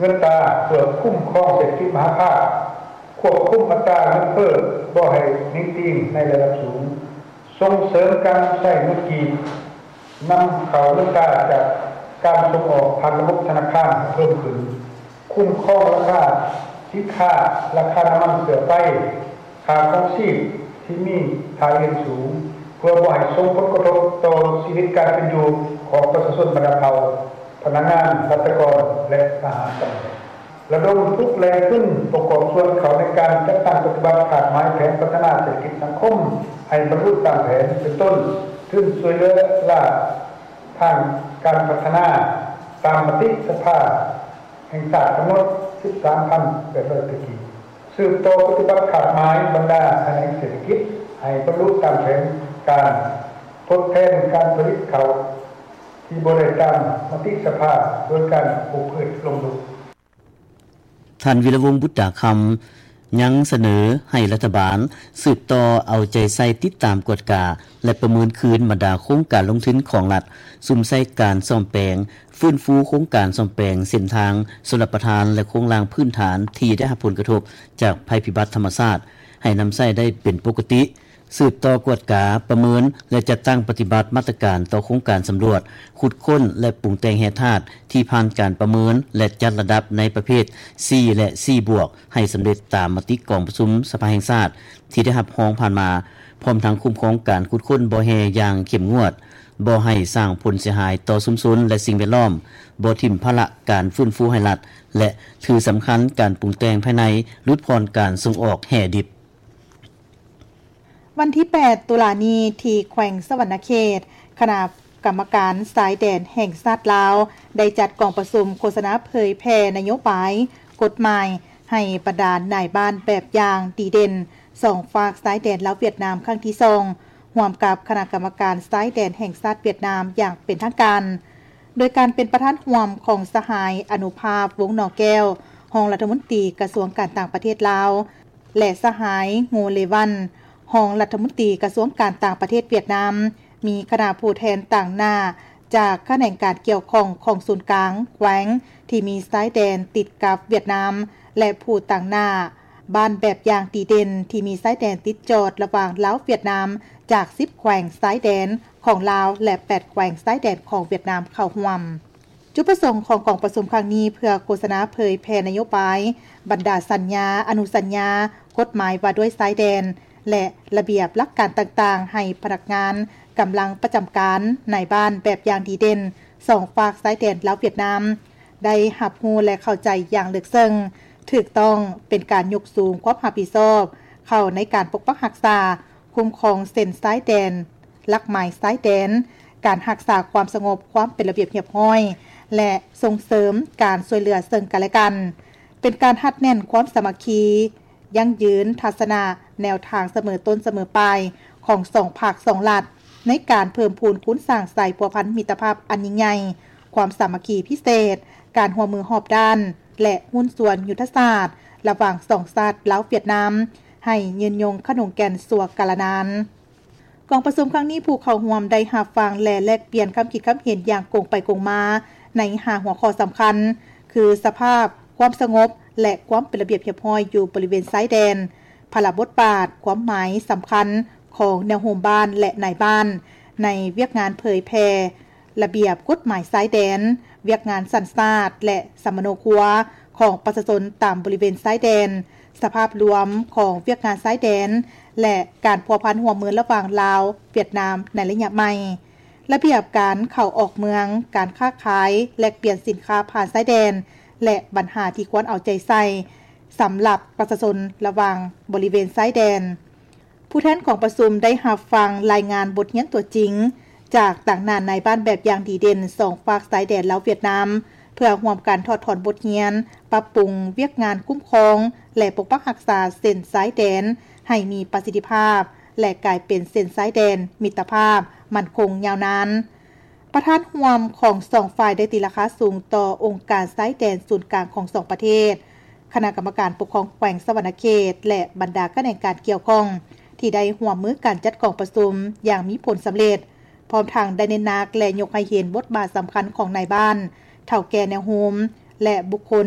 ເງິນຕາ ເພື່ອຄຸ້ມຄອງເສດຖະກິດມະຫາພາກ, ຄວບຄຸມອັດຕາເງິນເຟີ້ບໍ່ໃຫ້ໜິງຕີງໃນລະດັບສູງ, ສົ່ງເສີມການນຳໃຊ້ເງິນກີບ, ນຳເຂົ້າເງິນຕາຈາກການສົ່ງອອກຜ່ານລະບົບທະນາຄານໃຫ້ເພີ່ມຂຶ້ນ, ຄຸ້ມຄອງລາຄາສິນຄ້າ, ລາຄານ້ຳມັນເຊື້ອໄຟ, ຄ່າຄອງຊີບທີ່ມີທ່າເອງສູງ ເພື່ອບໍ່ໃຫ້ສົ່ງຜົນກະທົບຕໍ່ຊີວິດການເປັນຢູ່ຂອງປະຊາຊົນບັນດາເຜົ່າ, ພະນັກງານ, ລັດຖະກອນ ແລະ ທະຫານ. ສອງ ລະດົມທຸກແຫຼ່ງທຶນປະກອບສ່ວນເຂົ້າໃນການຈັດຕັ້ງປະຕິບັດຄາດໝາຍແຜນພັດທະນາເສດຖະກິດສັງຄົມໃຫ້ບັນລຸຕາມແຜນ, ເປັນຕົ້ນ ທຶນຊ່ວຍເຫຼືອລ້າທາງການພັດທະນາຕາມມະຕິສະພາແຫ່ງຊາດກຳນົດ ສິບສາມພັນແປດຮ້ອຍ ກີບ. ສືບຕໍ່ປະຕິບັດຄາດໝາຍບັນດາຂະແໜງເສດຖະກິດໃຫ້ບັນລຸຕາມແຜນການ, ທົດແທນການຜະລິດເຂົ້າທີ່ບໍ່ໄດ້ຕາມມະຕິສະພາໂດຍການປູກພືດລົງລຸກ. ທ່ານ ວິລະວົງ ບຸດຕາຄຳ ຍັງສະເໜີໃຫ້ລັດຖະບານສືບຕໍ່ເອົາໃຈໃສ່ຕິດຕາມກວດກາ ແລະ ປະເມີນຄືນບັນດາໂຄງການລົງທຶນຂອງລັດ ສຸມໃສ່ການສ້ອມແປງ, ຟື້ນຟູໂຄງການສ້ອມແປງເສັ້ນທາງຊົນລະປະທານ ແລະ ໂຄງລ່າງພື້ນຖານທີ່ໄດ້ຮັບຜົນກະທົບຈາກໄພພິບັດທຳມະຊາດ ໃຫ້ນຳໃຊ້ໄດ້ເປັນປົກກະຕິ, ສືບຕໍ່ກວດກາ, ປະເມີນ ແລະ ຈັດຕັ້ງປະຕິບັດມາດຕະການຕໍ່ໂຄງການສຳຫຼວດ, ຂຸດຄົ້ນ ແລະ ປຸງແຕ່ງແຮ່ທາດທີ່ຜ່ານການປະເມີນ ແລະ ຈັດລະດັບໃນປະເພດ ສີ່ ແລະ ສີ່ບວກ ໃຫ້ສຳເລັດຕາມມະຕິກອງປະຊຸມສະພາແຫ່ງຊາດທີ່ໄດ້ຮັບຮອງຜ່ານມາ, ພ້ອມທັງຄຸ້ມຄອງການຂຸດຄົ້ນບໍ່ແຮ່ຢ່າງເຂັ້ມງວດ, ບໍ່ໃຫ້ສ້າງຜົນເສຍຫາຍຕໍ່ຊຸມຊົນ ແລະ ສິ່ງແວດລ້ອມ, ບໍ່ຖິ້ມພາລະການຟື້ນຟູໃຫ້ລັດ ແລະ ຖືສຳຄັນການປຸງແຕ່ງພາຍໃນ, ຫຼຸດຜ່ອນການສົ່ງອອກແຮ່ດິບ. ວັນທີແປດ ຕຸລານີ້ ທີ່ແຂວງສະຫວັນນະເຂດ, ຄະນະກຳມະການຊາຍແດນແຫ່ງຊາດລາວ ໄດ້ຈັດກອງປະຊຸມໂຄສະນາເຜີຍແຜ່ນະໂຍບາຍ, ກົດໝາຍ ໃຫ້ບັນດານາຍບ້ານແບບຢ່າງດີເດັ່ນ ສອງຟາກຊາຍແດນລາວ-ຫວຽດນາມ ຄັ້ງທີສອງ ຮ່ວມກັບຄະນະກຳມະການຊາຍແດນແຫ່ງຊາດຫວຽດນາມຢ່າງເປັນທາງການ, ໂດຍການເປັນປະທານຮ່ວມຂອງສະຫາຍ ອະນຸພາບ ວົງໜໍແກ້ວ ຮອງລັດຖະມົນຕີກະຊວງການຕ່າງປະເທດລາວ ແລະ ສະຫາຍ ໂງ ເລວັນ ຮອງລັດຖະມົນຕີກະຊວງການຕ່າງປະເທດຫວຽດນາມ, ມີຄະນະຜູ້ແທນຕາງໜ້າຈາກຂະແໜງການກ່ຽວຂ້ອງຂອງສູນກາງແຂວງທີ່ມີຊາຍແດນຕິດກັບຫວຽດນາມ ແລະ ຜູ້ຕາງໜ້າບ້ານແບບຢ່າງດີເດັ່ນທີ່ມີຊາຍແດນຕິດຈອດລະຫວ່າງລາວ-ຫວຽດນາມ ຈາກສິບແຂວງຊາຍແດນຂອງລາວ ແລະ ແປດແຂວງຊາຍແດນຂອງຫວຽດນາມເຂົ້າຮ່ວມ. ຈຸດປະສົງຂອງກອງປະຊຸມຄັ້ງນີ້ ເພື່ອໂຄສະນາເຜີຍແຜ່ນະໂຍບາຍ, ບັນດາສັນຍາ, ອະນຸສັນຍາ, ກົດໝາຍວ່າດ້ວຍຊາຍແດນ ແລະ ລະບຽບຫຼັກການຕ່າງໆ ໃຫ້ພະນັກງານ, ກຳລັງປະຈຳການ, ນາຍບ້ານແບບຢ່າງດີເດັ່ນ ສອງຟາກຊາຍແດນລາວ-ຫວຽດນາມ ໄດ້ຮັບຮູ້ ແລະ ເຂົ້າໃຈຢ່າງເລິກເຊິ່ງ, ຖືກຕ້ອງ, ເປັນການຍົກສູງຄວາມຮັບຜິດຊອບເຂົ້າໃນການປົກປັກຮັກສາ, ຄຸ້ມຄອງເສັ້ນຊາຍແດນ, ຫຼັກໝາຍຊາຍແດນ, ການຮັກສາຄວາມສະຫງົບ, ຄວາມເປັນລະບຽບຮຽບຮ້ອຍ ແລະ ສົ່ງເສີມການຊ່ວຍເຫຼືອເຊິ່ງກັນແລະກັນ, ເປັນການຮັດແໜ້ນຄວາມສາມັກຄີ, ຢັ້ງຢືນທັດສະນະແນວທາງສະເໝີຕົ້ນສະເໝີປາຍຂອງສອງພັກສອງລັດ ໃນການເພີ່ມພູນຄູນສ້າງສາຍພົວພັນມິດຕະພາບອັນຍິ່ງໃຫຍ່, ຄວາມສາມັກຄີພິເສດ, ການຮ່ວມມືຮອບດ້ານ ແລະ ຫຸ້ນສ່ວນຍຸດທະສາດລະຫວ່າງສອງຊາດລາວ-ຫວຽດນາມ ໃຫ້ຍືນຍົງຂະໜົງແກ່ນຊົ່ວກາລະນານ. ກອງປະຊຸມຄັ້ງນີ້ ຜູ້ເຂົ້າຮ່ວມໄດ້ຮັບຟັງ ແລະ ແລກປ່ຽນຄຳຄິດຄຳເຫັນຢ່າງກົງໄປກົງມາໃນຫ້າຫົວຂໍ້ສຳຄັນ ຄື ສະພາບຄວາມສະຫງົບ ແລະ ຄວາມເປັນລະບຽບຮຽບຮ້ອຍຢູ່ບໍລິເວນຊາຍແດນ, ພາລະບົດບາດ, ຄວາມໝາຍສຳຄັນຂອງແນວໂຮມບ້ານ ແລະ ນາຍບ້ານ ໃນວຽກງານເຜີຍແຜ່ ລະບຽບກົດໝາຍຊາຍແດນ, ວຽກງານສັນຊາດ ແລະ ສຳມະໂນຄົວຂອງປະຊາຊົນຕາມບໍລິເວນຊາຍແດນ, ສະພາບລວມຂອງວຽກງານຊາຍແດນ ແລະ ການພົວພັນຮ່ວມມືລະຫວ່າງລາວ-ຫວຽດນາມໃນໄລຍະໃໝ່, ລະບຽບການເຂົ້າອອກເມືອງ, ການຄ້າຂາຍ, ແລກປ່ຽນສິນຄ້າຜ່ານຊາຍແດນ ແລະ ບັນຫາທີ່ຄວນເອົາໃຈໃສ່ສຳລັບປະຊາຊົນລະຫວ່າງບໍລິເວນຊາຍແດນ. ຜູ້ແທນກອງປະຊຸມໄດ້ຮັບຟັງລາຍງານບົດຮຽນຕົວຈິງ ຈາກຕາງໜ້ານາຍບ້ານແບບຢ່າງດີເດັ່ນສອງຟາກຊາຍແດນລາວ-ຫວຽດນາມ ເພື່ອຮ່ວມກັນຖອດຖອນບົດຮຽນ, ປັບປຸງວຽກງານຄຸ້ມຄອງ ແລະ ປົກປັກຮັກສາເສັ້ນຊາຍແດນໃຫ້ມີປະສິດທິພາບ ແລະ ກາຍເປັນເສັ້ນຊາຍແດນມິດຕະພາບໝັ້ນຄົງຍາວນານ. ປະທານຮ່ວມຂອງສອງຝ່າຍໄດ້ຕີລາຄາສູງຕໍ່ອົງການຊາຍແດນສູນກາງຂອງສອງປະເທດ, ຄະນະກຳມະການປົກຄອງແຂວງສະຫວັນນະເຂດ ແລະ ບັນດາຂະແໜງການກ່ຽວຂ້ອງ ທີ່ໄດ້ຮ່ວມມືກັນຈັດກອງປະຊຸມຢ່າງມີຜົນສຳເລັດ, ພ້ອມທັງໄດ້ເນັ້ນໜັກ ແລະ ຍົກໃຫ້ເຫັນບົດບາດສຳຄັນຂອງນາຍບ້ານ, ເຖົ້າແກ່ແນວໂຮມ, ແລະ ບຸກຄົນ